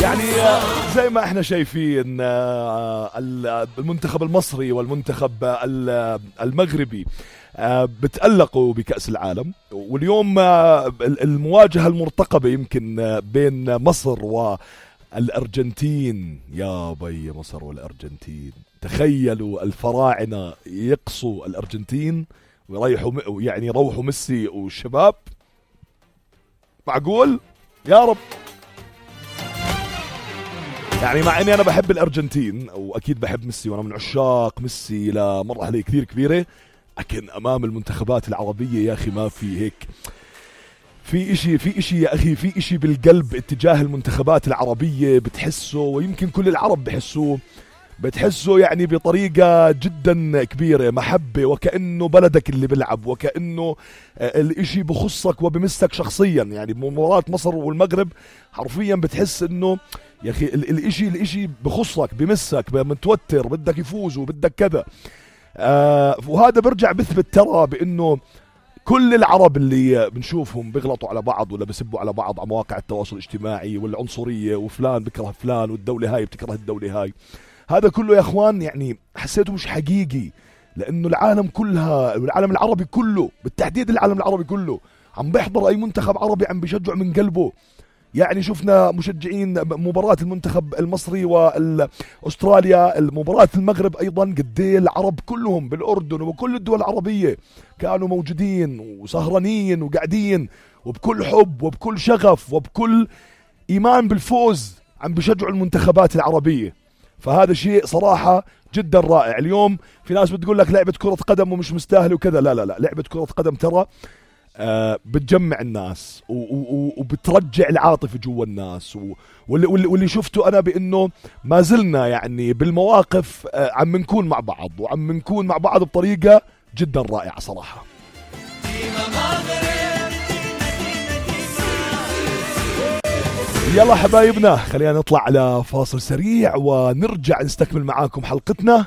يعني زي ما احنا شايفين المنتخب المصري والمنتخب المغربي بتألقوا بكأس العالم. واليوم المواجهة المرتقبة يمكن بين مصر والأرجنتين. يا بي مصر والأرجنتين، تخيلوا الفراعنة يقصوا الأرجنتين ويريحوا، يعني يروحوا ميسي والشباب. معقول؟ يا رب. يعني مع اني انا بحب الارجنتين واكيد بحب ميسي وانا من عشاق ميسي لمرحله كثير كبيره، لكن امام المنتخبات العربيه يا اخي ما في هيك. في اشي يا اخي، في اشي بالقلب اتجاه المنتخبات العربيه بتحسه، ويمكن كل العرب بتحسه يعني بطريقة جدا كبيرة، محبة، وكأنه بلدك اللي بلعب، وكأنه الاشي بخصك وبمسك شخصيا. يعني مباراة مصر والمغرب حرفيا بتحس انه يا اخي الاشي بخصك، بمسك، متوتر، بدك يفوز وبدك كذا. وهذا برجع بثبت ترى بانه كل العرب اللي بنشوفهم بيغلطوا على بعض ولا بيسبوا على بعض على مواقع التواصل الاجتماعي، والعنصرية، وفلان بكره فلان، والدولة هاي بتكره الدولة هاي، هذا كله يا اخوان يعني حسيته مش حقيقي. لانه العالم كلها، العالم العربي كله بالتحديد، العالم العربي كله عم بيحضر اي منتخب عربي، عم بيشجع من قلبه. يعني شفنا مشجعين مباراة المنتخب المصري واستراليا، المباراة المغرب ايضا، قديه العرب كلهم بالاردن وبكل الدول العربية كانوا موجودين وسهرانين وقاعدين وبكل حب وبكل شغف وبكل ايمان بالفوز عم بيشجعوا المنتخبات العربية. فهذا شيء صراحة جدا رائع. اليوم في ناس بتقول لك لعبة كرة قدم ومش مستاهل وكذا، لا لا لا، لعبة كرة قدم ترى بتجمع الناس وبترجع العاطفة جوا الناس. واللي شفته أنا بأنه ما زلنا يعني بالمواقف عم نكون مع بعض، وعم نكون مع بعض بطريقة جدا رائعة صراحة. يلا حبايبنا، خلينا نطلع على فاصل سريع ونرجع نستكمل معاكم حلقتنا.